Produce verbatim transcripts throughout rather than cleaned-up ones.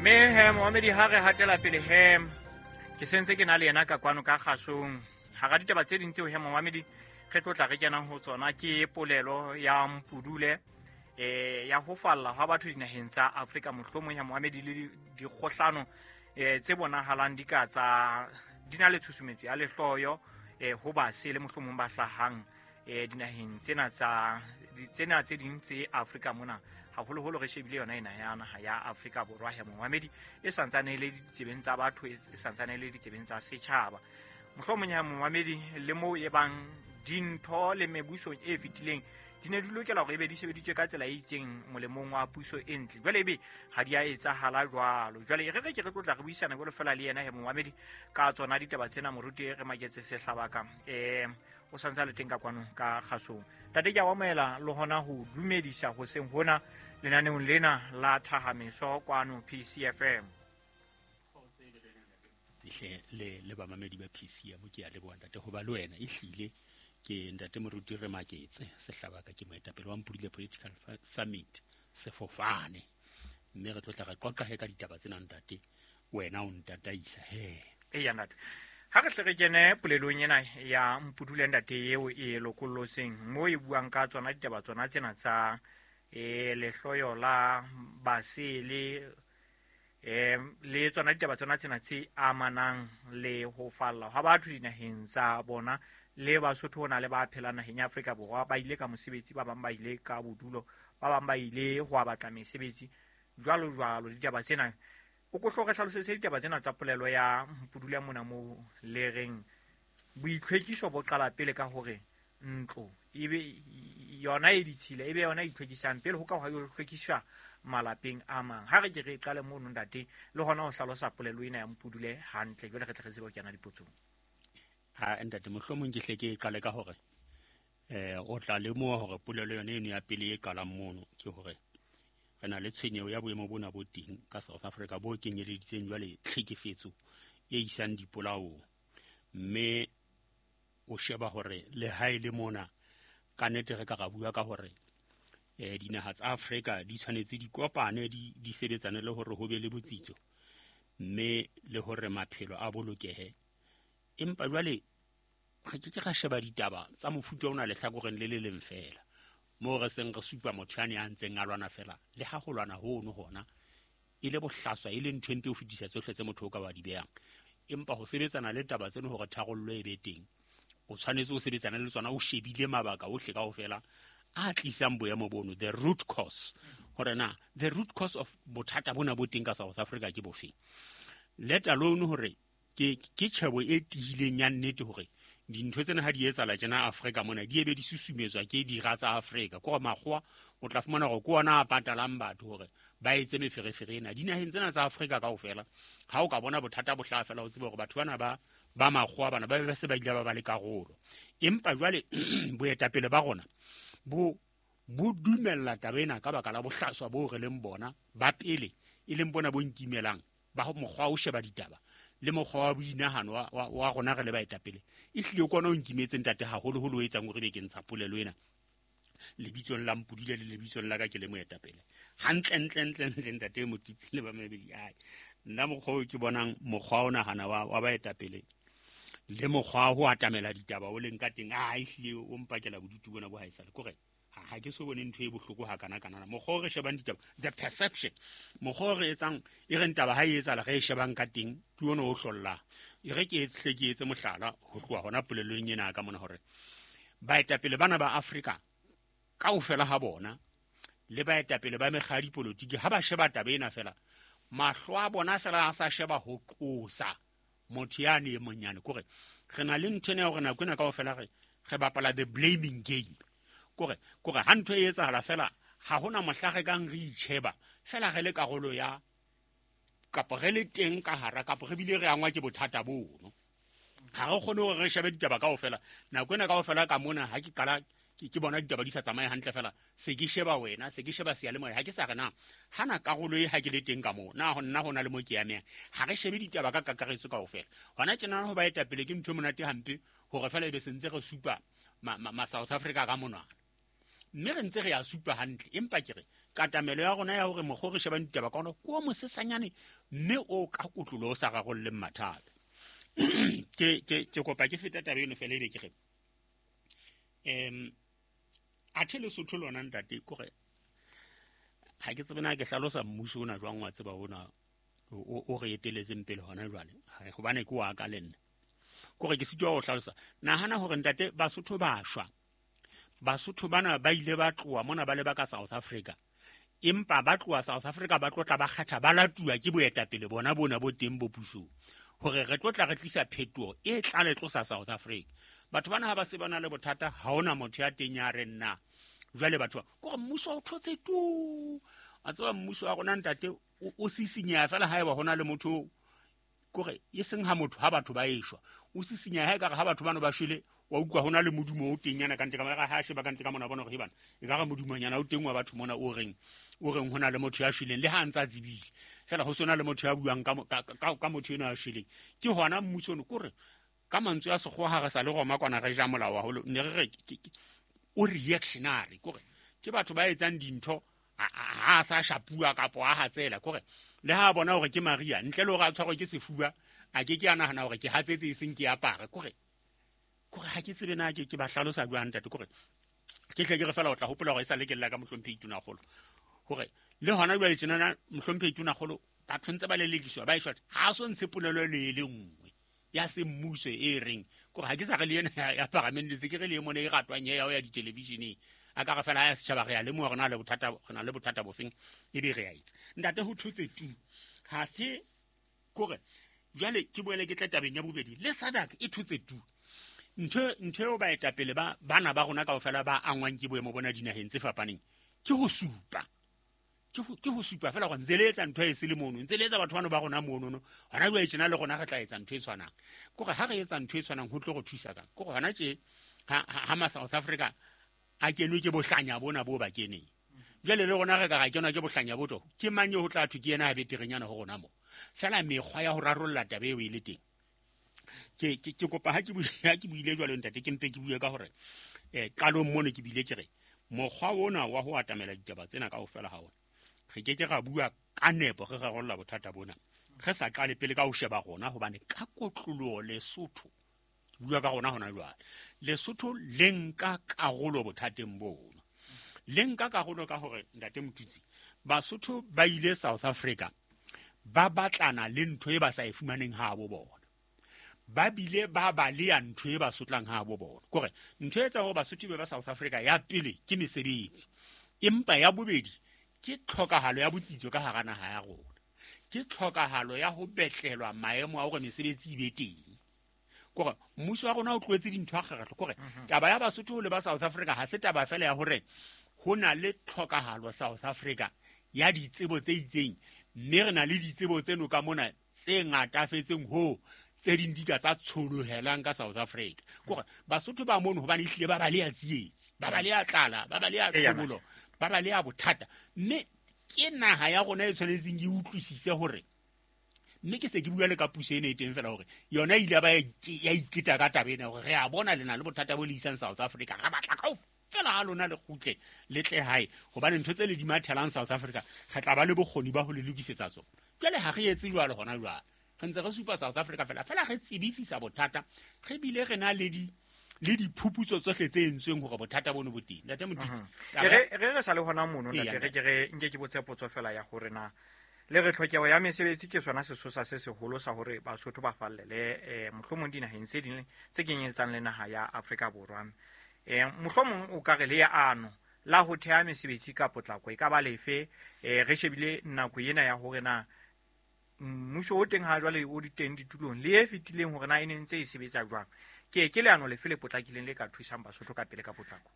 Mme he momamedi, ha re hatela pele he, ke sentse ke na le yena ka kwano ka kgasong. Hara ditaba tse ding tseo he momamedi re tlo tla re kenang ho tsona ke polelo ya Mpudule eh ya ho falla ha batho dinaheng tsa Afrika, mohlomong ya momamedi le dikgohlano eh tse bonahalang di ka tsa di na le tshusumetso ya lehloyo eh ho basele mohlomong ba hlahang eh dinaheng tsena tsa tsena tse ding tse Afrika mona, haholoholo re shebile yona ena ya naha ya Afrika Borwa ya momamedi e santsane e le ditsebeng tsa batho, e santsane e le ditsebeng tsa setjhaba. Mohlomong ya momamedi le moo e bang dintho le mebusong e fetileng di ne di lokela hore ebe di sebeditswe ka tsela e itseng molemong wa puso e ntle, jwale ebe ha di a etsahala jwalo. Jwale re re ke re tlo tla re buisana jwalo fela le yena he momamedi ka tsona ditaba tsena. Moruti re Maketse Sehlabaka eh o santse a le teng ka kwano ka kgasong. Ntate, ke a o amohela le hona ho dumedisa hoseng hona lenaneong lena la Thahameso kwano P C F M. Hle le le bamamedi ba P C M, ke a leboha ntate ho ba le wena. Ehlile ke ntate Moruti re Maketse Sehlabaka, ke moetapele wa Mpudule Political Summit sefofane, mme re tlo tla re qoqa he ka ditaba tsena ntate, wena o ntataisa he. Eya ntate, ha re hle re kene polelong ena ya Mpudule ntate eo e lokollotseng moo e buang ka tsona ditaba tsona tsena tsa eh lehloyo la basele eh le tsona ditaba tsona tsena tse amanang le ho falla ha batho dinaheng tsa bona. Le Basotho hona le ba phelang naheng ya Afrika Borwa ba ile ka mosebetsi, ba bang ba ile ka bodulo, ba bang ba ile ho batla mesebetsi jwalo jwalo. Ditaba tsena o ko hloke hlalosetse ditaba tsena tsa polelo ya Mpudule mona moo le reng boitlhwekiso bo qala pele ka hore ntlo ebe yona e ditshila, ebe yona e itlhwekisang pele ho ka ho hlwekiswa malapeng a mang. Ha re ke re qale mono ntate le hona ho hlalosa polelo ena ya Mpudule hantle, jwale re tle re tsebe ho kena dipotsong. Ha ntate, mohlomong ke hle ke qale ka hore eh o tla lemoha hore polelo yona eno ya pele e qalang mono ke hore re na le tshwenyeho ya boemo bona bo teng ka South Africa bo kenyeleditseng jwale tlhekefetso e isang dipolaong, mme o sheba hore le ha e le mona ka nnete re ka ra bua ka hore eh dinaha tsa Afrika di tshwanetse di kopane, di di sebetsane le hore ho be le botsitso mme le hore maphelo a bolokehe. Empa jwale re ke ke ra sheba ditaba tsa mofuta ona lehlakoreng le le leng fela, moo re seng re supa motho yane a ntseng a lwana fela, le ha ho lwana hono hona e le bohlaswa, e le ntho e mpe ho fetisa tsohle tse motho o ka wa di behang. Empa ho sebetsana le taba tseno hore tharollo e be teng, o tshwanetse o sebetsane le tsona o shebile mabaka ohle kaofela a tlisang boemo bono, the root cause, hore na the root cause of bothata bona bo teng ka South Africa ke bofeng, let alone hore ke ke tjhebo e tiileng ya nnete hore dintho tsena ha di etsahala tjena Afrika mona di ebe di susumetswa ke dira tsa Afrika. Ke hore makgowa o tla fumana hore ke ona a patalang batho hore ba etse meferefere ena dinaheng tsena tsa Afrika kaofela. Ha o ka bona bothata bo hlaha fela, o tsebe hore batho bana ba ba makgowa bana ba be ba se ba ile ba ba le karolo. Empa jwale boetapele ba rona bo bo dumella taba ena ka baka la bohlaswa bo re leng bona ba pele, e leng bona bo nkimelang ba mokgwa o sheba ditaba le mokgwa wa boinahano wa, wa, wa rona re le baetapele. Ehlile ke ona o nkimetseng ntate haholoholo o etsang hore be ke ntsha polelo ena lebitsong la Mpudule le lebitsong la ka ke le moetapele. Hantle ntle ntle ntle ntate Motitsi le bamamedi, ai nna mokgwa o ke bonang mokgwa o nahana wa, wa baetapele le mokgwa ho atamela ditaba o leng ka teng, a ehlile o mpakela bodutu bona bo haesale. Kore ha ke so bone ntho e bohloko ha kana kana. Mokgwa o re shebang ditaba, the perception, mokgwa o re etsang e reng taba ha e etsahala re e shebang ka teng ke ona o hlollang. E re ke etse hle ke etse mohlala ho tloha hona polelong ena ka mona hore baetapele bana ba Afrika kaofela ha bona le baetapele ba mekga ya dipolotiki ha ba sheba taba ena fela, mahlo a bona fela a sa sheba ho qosa motho yane e monyane. Kore re na le ntho ena ya hore nako ena kaofela re re bapala the blaming game. Kore kore ha ntho e etsahala fela ha hona mohla re kang re itjheba fela re le karolo ya kapa re le teng ka hara kapa re bile re angwa ke bothata bono. Ha re kgone hore re shebe ditaba kaofela nako ena kaofela ka mona. Ha ke qala ke bona ditaba di sa tsamaye hantle fela, se ke sheba wena, se ke sheba seyalemoya, ha ke sa re na hana karolo e ha ke le teng ka moo, na ho nna ho na le mo ke amehang. Ha re shebe ditaba ka kakaretso kaofela. Hona tjena ho baetapele ke ntho e monate hampe hore fela ebe sentse re supa ma, ma, ma South Africa ka monwana. Mme re ntse re a supa hantle, empa ke re katamelo ya rona ya hore mokgwa o re shebang ditaba ka ona ke o mosesanyane mme o ka kotlolo o sa rarolleng mathata. Ke ke ke kopa ke feta taba eno fela ebe ke re em athe Lesotho lona ntate kore ha ke tsebe na ke hlalosa mmuso ona jwang wa tseba ona o re eteletseng pele hona jwale, hobane ke wa ka le nna. Kore ke sitwa ho hlalosa. Nahana hore ntate Basotho ba shwa. Basotho bana ba ile ba tloha mona ba leba ka South Africa. Empa ba tloha South Africa ba tlotla ba kgetha ba latuwa ke boetapele bona bona bo teng bo pusong. Hore re tlotla re tlisa phetoho e tla le tlosa South Africa. Batho bana ha ba se bana le bothata ha hona motho ya teng ya re nna. Jwale batho ba kore mmuso o thotse tu. A tseba mmuso wa rona ntate o sisinyeha fela haeba hona le motho kore e seng ha motho ha batho ba eshwa. O sisinyeha ha ekare ha batho bano ba shwele wa utlwa hona le modumo o teng nyana ka ntle ka mona ha sheba ka ntle ka mona bona hore bana e ka re modumonyana o teng wa batho mona o reng o reng hona le motho ya shweleng le ha a ntse a tsebile fela ho sona le motho ya buang ka ka ka motho eno ya shweleng. Ke hona mmuso ono kore ka mantswe a sekgowa ha re sa le roma kwana re ja molao haholo ne re re o reactionary kore ke batho ba etsang dintho ha a sa shapua kapo a hatsela kore le ha bona hore ke Maria ntle le hore a tshwarwe ke sefuba a ke ke a nahana hore ke hatsetse e seng ke apare kore kore ha ke tsebe na ke ke ba hlalosa jwang ntate kore ke tle ke re fela o tla hopola hore e sa le ke lla ka mohlomphehi Tonakgolo hore le hona jwale tjenana mohlomphehi Tonakgolo batho ntse ba lelekiswa ba eshwa ha so ntshe polelo le le nngwe ya semmuso e reng kore ha ke sa re le yena ya paramente se ke re le mona e ratwang ya ya ditelevisheneng a ka re fela ya setjhaba re ya lemoha re na le bothata re na le bothata bofeng ebe re ya itse ntate ho thotse tu ha se kore jwale ke boele ke tla tabeng ya bobedi le SADC e thotse tu ntho ntho eo baetapele ba bana ba rona kaofela ba angwang ke boemo bona dinaheng tse fapaneng ke ho supa ke ho ke ho supa fela gore ntse le etsa ntho e se le mono ntse le etsa batho bano ba rona mono no hona jwale tjena le rona re tla etsa ntho e tshwanang kore ha re etsa ntho e tshwanang ho tlo re thusa kang kore hona tje ha ha ma South Africa a kenwe ke bohlanya bona bo ba keneng jwale le rona re ka ra kenwa ke bohlanya bo to ke mang ho tla thwe ke yena a beterenyana ho rona mo fela mekgwa ya ho rarolla taba eo e le teng. Ke ke ke kopa ha ke ha ke buile jwalo ntate ke mpe ke bue ka hore eh qalong mono ke bile ke re mokgwa ona wa ho atamela ditaba tsena kaofela ha ona re ke ke ra bua ka nepo re rarolla bothata bona re sa qale pele ka ho sheba rona hobane ka kotloloho Lesotho ke bua ka rona hona jwale Lesotho le nka karolo bothateng bona le nka karolo ka hore ntate Motutsi Basotho ba ile South Africa ba batlana le ntho e ba sa e fumaneng ha bo bona ba bile ba ba le ya ntho e ba sotlang ha bo bona kore ntho e etsa hore Basotho be ba South Africa ya pele ke mesebetsi empa ya bobedi ke tlhokahalo ya botsitso ka hara naha ya rona ke tlhokahalo ya ho betlelwa maemo a hore mesebetsi e be teng kore mmuso wa rona o tlohetse dintho a kgerehlwa kore taba ya Basotho le ba South Africa ha se taba fela ya hore ho na le tlhokahalo South Africa ya ditsebo tse itseng mme re na le ditsebo tseno ka mona tse ngatafetseng ho tse ding di ka tsa tsholohelang ka South Africa kore Basotho ba mono hobane ehlile ba ba le ya tsietsi ba ba le ya tlala ba ba le ya tlhobolo ba ba le ya bothata mme ke naha ya rona e tshwanetseng e utlwisise hore mme ke se ke bua le ka puso ena e teng fela hore yona ile ba ya iketa ka taba ena hore re a bona le na le bothata bo le isang South Africa re batla kaofela ha lona le kgutle le tle hae hobane ntho tse le di mathelang South Africa re tla ba le bokgoni ba ho le lokisetsa tsona jwale ha re etse jwalo hona jwale re ntse re supa South Africa fela fela re tsebisisa bothata re bile re na le di le diphuputso tsohle tse entsweng hore bothata bono bo teng ntate Motutsi re re re sa le hona mono ntate re ke re nke ke botse potso fela ya hore na le re tlhokeho ya mesebetsi ke sona sesosa se seholo sa hore Basotho ba fallele eh mohlomong dinaheng tse ding tse kenyetsang le naha ya Afrika Borwa eh mohlomong o ka re le ano la ho theha mesebetsi ka potlako e ka ba lefe eh re shebile nako ena ya hore na mmuso o teng ha jwale o diteng ditulong le e fetileng hore na e ne ntse e sebetsa jwang ke ke leano lefe le potlakileng le ka thusang Basotho ka pele ka potlako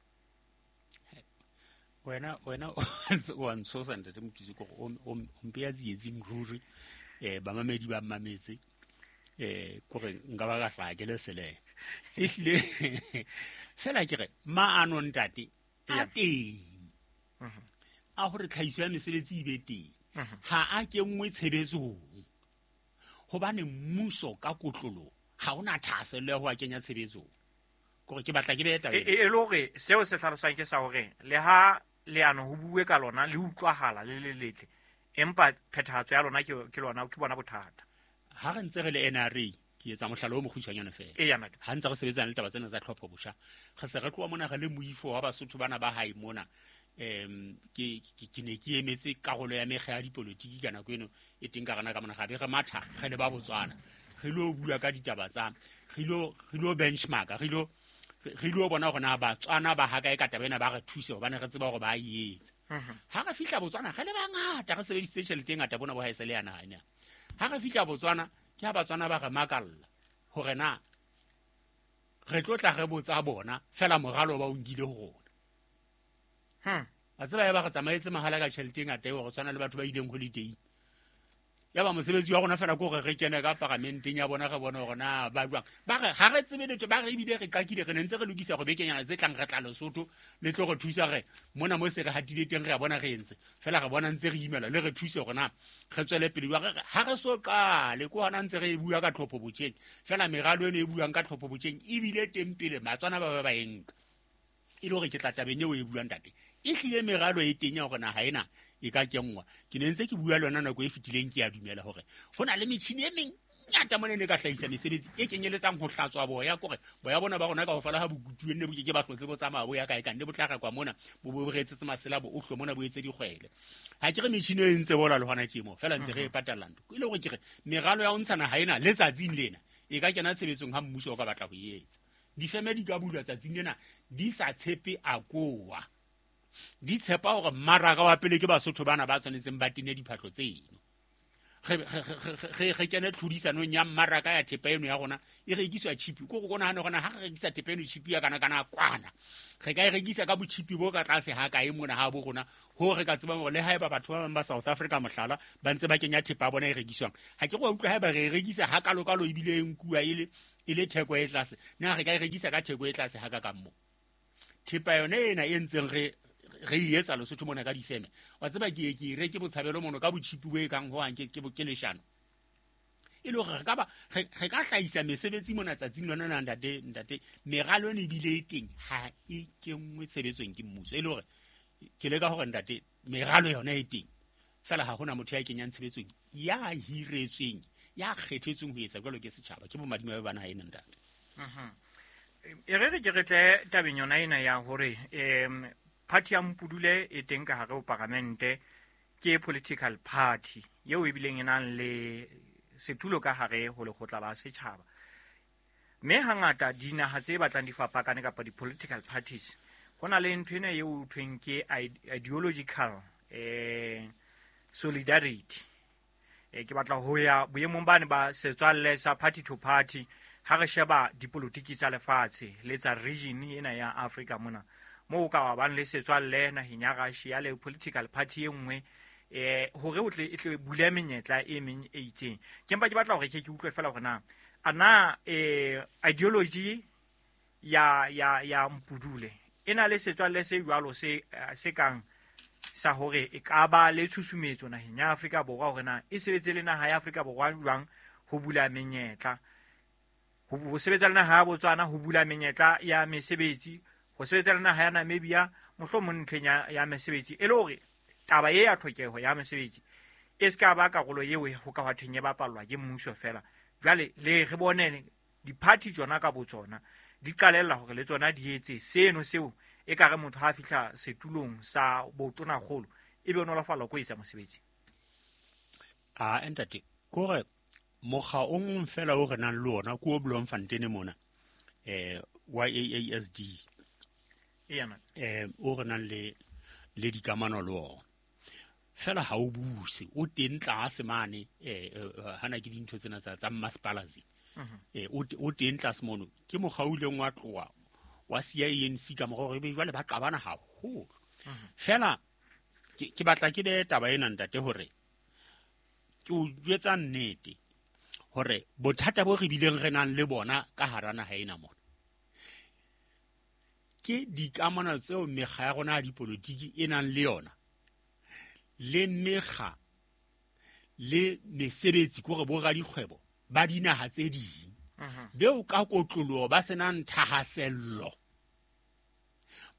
wena wena o ntshosa ntate Motutsi kore o mpeya tsietsing ruri eh bamamedi ba mmametse eh kore nka ba ka hlaha ke le sele ehlile fela ke re maano ntate a teng a hore tlhahiso ya mesebetsi e be teng ha a kenngwe tshebetsong hobane mmuso ka kotlolo ha ona thahasello ya ho a kenya tshebetsong Kore ke batla ke behe taba E e le hore seo se hlalosang ke sa hore le ha leano ho bue ka lona le utlwahala le le letle, empa phethahatso ya lona ke ke lona ke bona bothata. Ha re ntse re le N R A, ke etsa mohlala o mokgutshwanyane feela. Eya, ntate. Ha ntse re sebetsana le taba tsena tsa tlhopho botjha, re se re tloha mona re le moifo wa Basotho bana ba hae mona. Em ke ke ne ke emetse karolo ya mekga ya dipolotiki ka nako eno e teng ka rena ka mona, ga be re matha re le ba Botswana, re lo bua ka ditaba tsa re lo re lo benchmark, re lo re lo bona hore na Batswana ba ha kae ka taba ena, ba re thuse hobane re tseba hore ba e etsa. Ha re fihla Botswana re le bangata, re sebedisitse tjhelete e ngata bona bo ha e se le ya naha ena. Ha re fihla Botswana ke ha Batswana ba re makalla hore na re tlo tla re botsa bona fela moralo ba o nkile ho rona. Hmm. A tseba ya ba re tsamaetse mahala ka tjhelete e ngata eo, re tshwana le batho ba ileng holiday. Ya ba mosebetsi wa rona fela ke hore re kene ka paramenteng ya bona, re bone hore na ba jwang. Ba re ha re tsebe letho, ba re ebile re qakile, re ne ntse re lokisa hore bekenyana tse tlang re tla Lesotho le tlo re thusa re mona mo se re hatile teng, re a bona re entse fela, re bona ntse re imela, le re thuse hore na re tswele pele. Jwang re ha re so qale ke hona ntse re e bua ka tlhopho botjheng fela, meralo eno e buang ka tlhopho botjheng ebile teng pele Batswana ba ba ba e nka. E le hore ke tla tabeng eo e buang ntate, e hlile meralo e teng ya hore naha ena e ka kenngwa. Ke ne ntse ke bua le yona nako e fetileng, ke a dumela hore ho na le metjhini e mengata mona e ne ka hlahisa mesebetsi e kenyeletsang ho hlatswa boya, kore boya bona ba rona kaofela ha bo kutuwe nne bo ke ke ba hlotse bo tsamaya bo ya kae ka nne bo tla rekwa mona, bo bo re etsetse masela, bo ohlwe mona, bo etse dikgwele. Ha ke re metjhini e ntse bola le hona tjemo fela ntse re e patalla ntho. E le hore ke re meralo ya ho ntsha naha ena letsatsing lena e ka kena tshebetsong ha mmuso o ka batla ho e etsa. Difeme di ka bulwa tsatsing lena di sa tshepe AGOA, di tshepa hore mmaraka wa pele ke Basotho bana ba tshwanetseng ba tene diphahlo tseno. Re re re kene tlhodisanong ya mmaraka ya thepa eno ya rona e rekiswa cheap. Ko go nahana hore ha re rekisa thepa eno cheap ya kana kana kwana, re ka e rekisa ka bocheap bo ka tlase ha kae mona ha bo rona, ho re ka tsebang hore le haeba batho ba bang ba South Africa mohlala ba ntse ba kenya thepa ya bona e rekiswang, ha ke go utlwa haeba re e rekisa ha kalokalo ebile e nkuwa e le e le theko e tlase, na re ka e rekisa ka theko e tlase ha ka ka mo. Thepa yone ena e ntseng re re e etsa Lesotho mona ka difeme, wa tseba ke ke reke botshabelo mono ka bochipi bo e kang ho hang ke ke leshano. E le hore re ka ba re ka hlahisa mesebetsi mona tsatsing lona na ntate ntate meralo ene ebile e teng ha e kenngwe tshebetsong ke mmuso. E le hore ke leka hore ntate meralo yona e teng fela ha hona motho ya kenyang tshebetsong, ya hiretsweng, ya kgethetsweng ho etsa jwalo ke setjhaba, ke bomadimabe ba naha ena ntate. Mhm. E re re ke re tle tabeng yona ena ya hore em party ya Mpudule e teng ka hare ho paramente, ke political party eo e bileng e nang le setulo ka hare ho lekgotla la setjhaba. Mme hangata dinaha tse batlang di fapakane kapa di-political parties, ho na le ntho ena eo ho thweng ke ideological eh solidarity. E ke batla ho ya boemong bane ba setswalle sa party to party ha re sheba dipolotiki tsa lefatshe le tsa region ena ya Afrika mona, moo ka ba bang le setswalle naheng ya Russia le political party e nngwe eh hore o tle e tle bule menyetla e meng e itseng. Ke mpa ke batla hore ke ke utlwe fela hore na ana eh ideology ya ya ya Mpudule e na le setswalle se jwalo se se kang sa hore e ka ba le tshusumetso naheng ya Afrika Borwa, hore na e sebetse le naha ya Afrika Borwa jwang ho bula menyetla, ho sebetsa le naha ya Botswana ho bula menyetla ya mesebetsi, ho sebetsa le naha ya Namibia mohlomong ntlheng ya, ya mesebetsi, e le hore taba e ya tlhokeho ya mesebetsi e se ka ba karolo eo ho ka hwa thweng e bapallwa ke mmuso fela. Jwale le re bone di-party tsona ka botsona di qalella hore le tsona di etse seno seo e ka re motho ha fihla setulong sa botonakgolo e be o nolofallwa ko etsa mosebetsi. A ntate, kore mokga o mong fela o re nang le ona ke o Bloemfontein mona, eh Y A A S D. Eya, eh o re nang le le dikamano le ona fela ha o buse, o teng tlase mane eh hana ke dintho tsena tsa tsa masepala tse. Eh o o teng tlase mono ke mokga o ileng wa tloha wa C I N C ka mora hore be jwale ba qabana haholo. Fela ke ke batla ke be taba ena ntate hore ke o jwetsa nnete hore bothata bo re bileng re nang le bona ka hara naha ena mona ke dikamano tseo mekga ya rona ya dipolotiki e nang le yona le mekga le mesebetsi kore bo radikgwebo ba dinaha tse ding. Beo ka kotloloho ba senang thahasello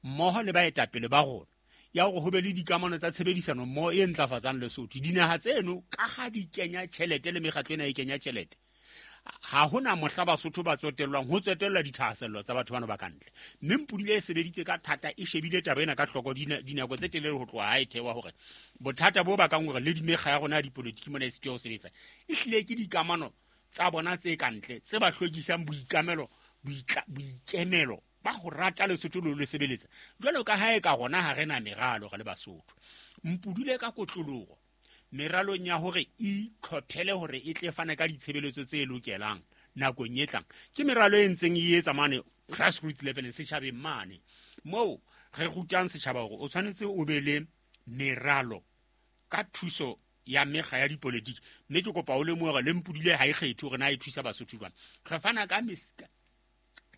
mmoho le baetapele ba rona ya hore ho be le dikamano tsa tshebedisano mmoho e ntlafatsang Lesotho. Dinaha tseno ka ha di kenya tjhelete le mekgatlo ena e kenya tjhelete, ha hona mohla Basotho ba tsotellwang ho tsotellwa dithahasello tsa batho bana ba kantle. Mme Mpudile e sebeditse ka thata, e shebile taba ena ka hloko dinako tse telele ho tloha ha e thewa hore bothata bo bakang hore le dimekga ya rona ya dipolitiki mona e sitwe ho sebetsa e hlile ke dikamano tsa bona tse kantle tse ba hlwekisang boikamelo boikemelo ba ho rata Lesotho le le sebeletsa. Jwalo ka ha e ka rona ha re na meralo re le Basotho. Mpudule ka kotloloho meralong ya hore e itlhophele hore e tle fane ka ditshebeletso tse lokelang nakong e tlang. Ke meralo e ntseng e etsa mane grassroots level setjhabeng mane moo re rutang setjhaba hore o tshwanetse o be le meralo ka thuso ya mekga ya dipolitiki. Mme ke kopa o lemohe hore le Mpudile ha e kgethe hore na e thusa Basotho jwang. Re fana ka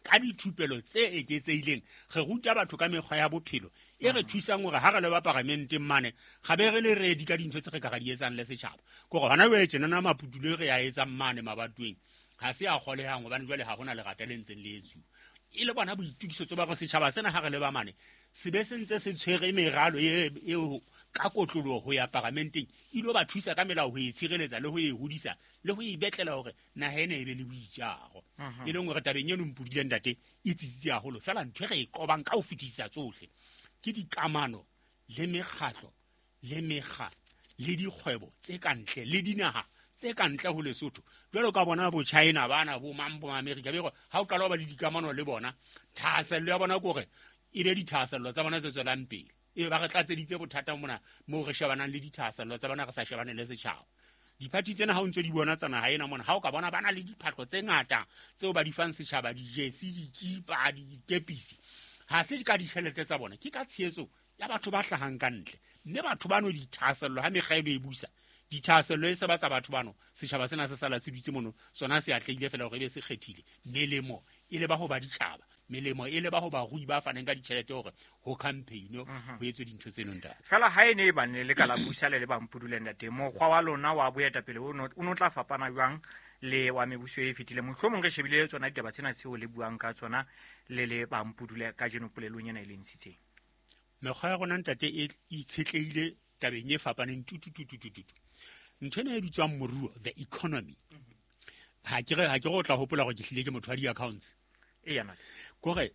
ka dithupelo tse eketsehileng, re ruta batho ka mekgwa ya bophelo e re thusang hore ha re le ba paramenteng mane ga be re le ready ka dintho tse re ka ra di etsang le setjhaba. Ke hore hona jwale tjenana maputulo e re a etsang mane mabatoweng ha se a kgolehang hobane jwale ha hona lerata le ntseng le etsuwa. E le bona boitokisetso ba hore setjhaba sena ha re le ba mane se be se ntse se tshwere meralo eo ka kotloloho ho ya paramenteng e ilo ba thusa ka melao ho e tshireletsa le ho e hodisa le ho e betlela hore naha ena e be le boitjaro. E leng hore tabeng eno Mpudile ntate e tsitsitse haholo. Feela ntho e re e qobang ka ho fetisisa tsohle ke dikamano le mekgatlo le mekga le dikgwebo tse kantle le dinaha tse kantle ho Lesotho. Jwalo ka bona bo China bana bo mang bo America be hore ha o qala ho ba le dikamano le bona thahasello ya bona ke hore e be dithahasello tsa bona tse tswelang pele. E ba re tlatseditse bothata mona moo re shebanang le dithahasello tsa bona re sa shebane le setjhaba. Diphathi tsena ha o ntse di bona tsa naha ena mona ha o ka bona ba na le diphahlo tse ngata tseo ba di fang setjhaba, dijesi, dikipa, dikepisi, ha se ka ditjhelete tsa bona, ke ka tshehetso ya batho ba hlahang ka ntle. Mme batho bano dithahasello ha mekga eno e busa dithahasello e se ba tsa batho bano, setjhaba sena se sala se dutse mono sona se atlehile fela hore e be se kgethile. Melemo e le ba ho ba ditjhaba, melemo e le ba ho barui ba faneng ka ditjhelete hore ho campaign ho etswe dintho tseno ntate. Fela ha e ne e bane le ka la busa le le ba Mpudule ntate, mokgwa wa lona wa boetapele o no tla fapana jwang le wa mebuso e fetileng? Mohlomong re shebile tsona ditaba tsena tseo le buang ka tsona le le ba Mpudule kajeno polelong ena e le ntshitseng. Mekgwa ya rona ntate e itshetlehile tabeng e fapaneng tutututututu. Ntho ena e bitswang moruo, the economy. Ha ke re ha ke re o tla hopola hore ke hlile ke motho wa di-accounts. Eya ntate. Kore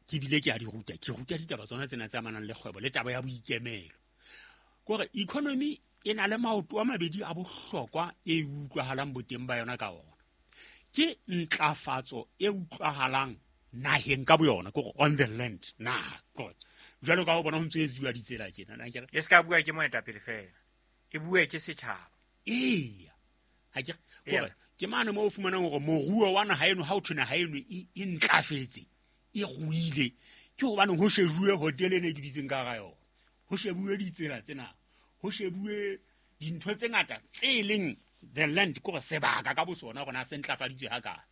ke bile ke a di ruta, ke ruta ditaba tsona tsena tse amanang le kgwebo le taba ya boikemelo. Kore economy e na le maoto a mabedi a bohlokwa e utlwahalang boteng ba yona ka ona. Ke ntlafatso e utlwahalang naheng ka boyona, kore on the land naha. Kore jwalo ka ho bona ho ntse etsuwa ditsela tjena, na ke re e se ka bua ke moetapele fela, e bue ke setjhaba. Eya. Ha ke kore ke mane moo o fumanang hore moruo wa naha eno ha o thwe naha eno e ntlafetse, e ruile, ke hobane ho shebuwe hotel ene e ke dutseng ka hara yona, ho shebuwe ditsela tsena, ho shebuwe dintho tse ngata tse leng the land, kore sebaka ka bosona hore na se ntlafaditswe hakae.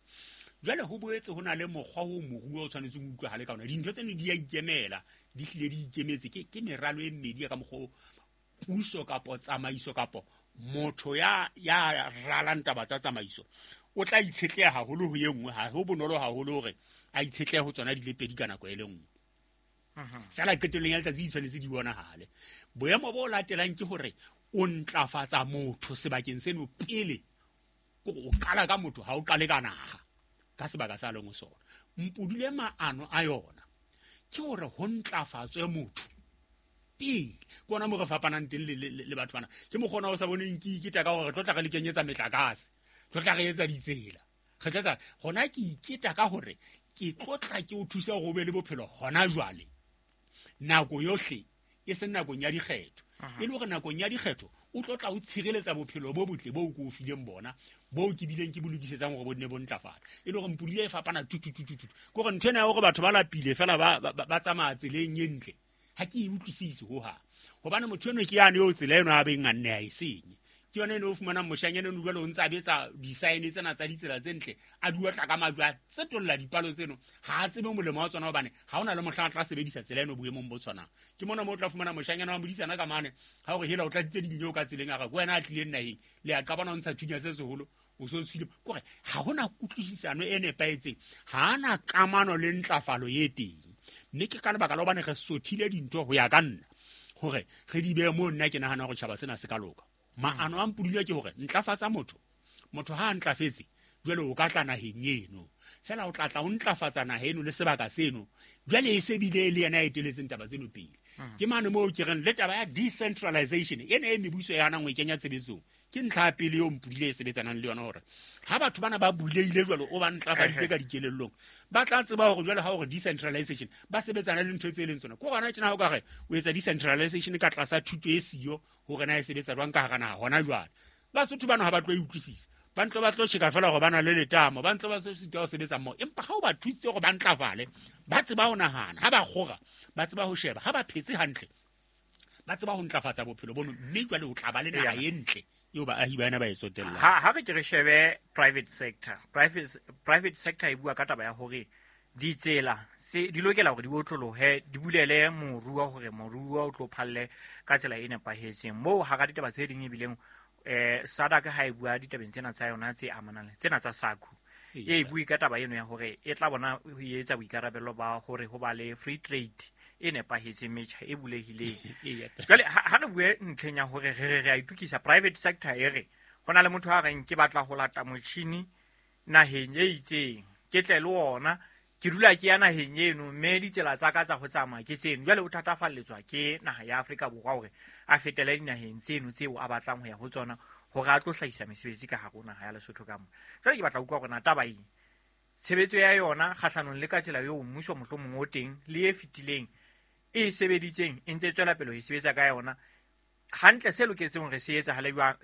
Jwale ho boetse ho na le mokgwa o moruo o tshwanetseng ho utlwahale ka ona. Dintho tseno di a ikemela, di hlile di ikemetse. Ke ke meralo e mmedi ya ka mokgwa o puso kapo tsamaiso kapo motho ya ya ralang taba tsa tsamaiso o tla itshetleha haholo ho e nngwe. Ha ho bonolo haholo hore a itshetlehe ho tsona di le pedi ka nako e le nngwe. Feela qetellong ya letsatsi di tshwanetse di bonahale. Boemo bo latelang ke hore o ntlafatsa motho sebakeng seno pele, o qala ka motho, ha o qale ka naha ka sebaka sa leng ho sona. Mpudule maano a yona ke hore ho ntlafatswe motho pele. Ke ona moo re fapanang teng le batho bana. Ke mokgwa ona o sa boneng ke iketa ka hore re tlo tla re le kenyetsa metlakase, tlo tla re etsa ditsela, re tlo tla hona ke iketa ka hore ke tlo tla ke o thusa hore o be le bophelo hona jwale nako yohle, e seng nakong ya dikgetho. E le hore nakong ya dikgetho o tlo tla o tshireletsa bophelo bo botle bo ko o fileng bona, bo ke bileng ke bo lokisetsang hore bo nne bo ntlafala. E le hore Mpudule e fapana tututututu. Ke hore ntho ena ya hore batho ba lapile fela ba ba tsamaya tseleng e ntle, ha ke e utlwisise hohang. Hobane motho eno ke yane eo tsela eno a beng a nne a e senye. Ke yona eno o fumanang moshanyana eno jwale o ntse a betsa di-sign tsena tsa ditsela tse ntle, a di otla ka majwe, a tsetolla dipalo tseno, ha a tsebe molemo wa tsona hobane ha hona le mohla a tla sebedisa tsela eno boemong bo tshwanang. Ke mona moo o tla fumana moshanyana wa modisana ka mane, ha hore hela o tladitse dinyo ka tseleng, a re ke wena a tlileng naheng, le a qabana o ntsha thunya se seholo, O so tswile kore ha hona kutlwisisano e nepahetseng, ha ana kamano le ntlafalo e teng. Mme ke ka lebaka la hobane re sothile dintho ho ya ka nna hore re di behe moo nna ke nahana hore tjhaba sena se ka loka. Maano a Mpudule ke hore ntlafatsa motho, motho ha a ntlafetse jwale o ka tla naheng eno, fela o tla tla o ntlafatsa naha eno le sebaka seno, jwale e se bile le yena a eteletseng taba tseno pele. Ke mane moo ke reng le taba ya decentralization ena e mebuso ya hanang ho e kenya tshebetsong, ke ntlha ya pele eo Mpudule e sebetsanang le yona, hore ha batho bana ba buleile jwalo o ba ntlafaditse ka dikelellong, ba tla tseba hore jwale ha hore decentralization ba sebetsana le ntho tse leng tsona. Ke hona tjena ha o ka re o etsa decentralization ka tlasa thuto e siyo hore na e sebetsa jwang ka hara naha hona jwale, Basotho bana ha ba tlo e utlwisisa, ba ntlo ba tlo tjheka fela hore ba na le letamo, ba ntlo ba se sitwa ho sebetsa mmoho. Empa ha o ba thusitse hore ba ntlafale, ba tseba ho nahana, ha ba kgora ba tseba ho sheba, ha ba phetse hantle ba tseba ho ntlafatsa bophelo bono, mme jwale o tla ba le naha e ntle eo baahi ba yona ba e tsotellang. Ha ha re ke re shebe private sector, private private sector e bua ka taba ya hore ditsela se di lokela hore di otlolohe, di bulele moruo hore moruo o tlo phalle ka tsela e nepahetseng. Moo hara ditaba tse ding ebileng eh SADC ha e bua ditabeng tsena tsa yona tse amanang le tsena tsa SACU, e bue ka taba eno ya hore e tla bona ho etsa boikarabelo ba hore ho ba le free trade e nepahetseng, metjha e bulehileng. Jwale ha re bue ntlheng ya hore re re re a itukisa, private sector e re ho na le motho a reng ke batla ho lata motjhini naheng e itseng, ke tle le ona, ke dula ke ya naheng eno, mme ditsela tsa ka tsa ho tsamaya ke tseno. Jwale o thatafalletswa ke naha ya Afrika Borwa hore a fetele dinaheng tseno tseo a batlang ho ya ho tsona hore a tlo hlahisa mesebetsi ka hare ho naha ya Lesotho ka mona. Jwale ke batla ho utlwa hore na taba eng tshebetso ya yona kgahlanong le ka tsela eo mmuso mohlomong o teng le e fetileng e sebeditseng e ntse tswela pele ho e sebetsa ka yona hantle, se loketseng hore se etsahale jwang,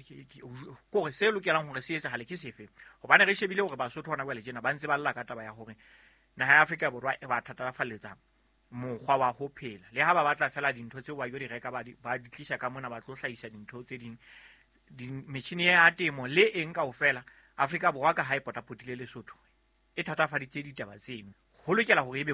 kore se lokelang hore se etsahale ke sefe? Hobane re shebile hore Basotho hona jwale tjena ba ntse ba lla ka taba ya hore naha ya Afrika Borwa e ba thatafalletsa mokgwa wa ho phela, le ha ba batla fela dintho tseo ba yo di reka ba di ba di tlisa ka mona, ba tlo hlahisa dintho tse ding, metjhini ya temo le eng kaofela. Afrika Borwa ka ha e potapotile Lesotho e thatafaditse ditaba tseno, ho lokela hore ebe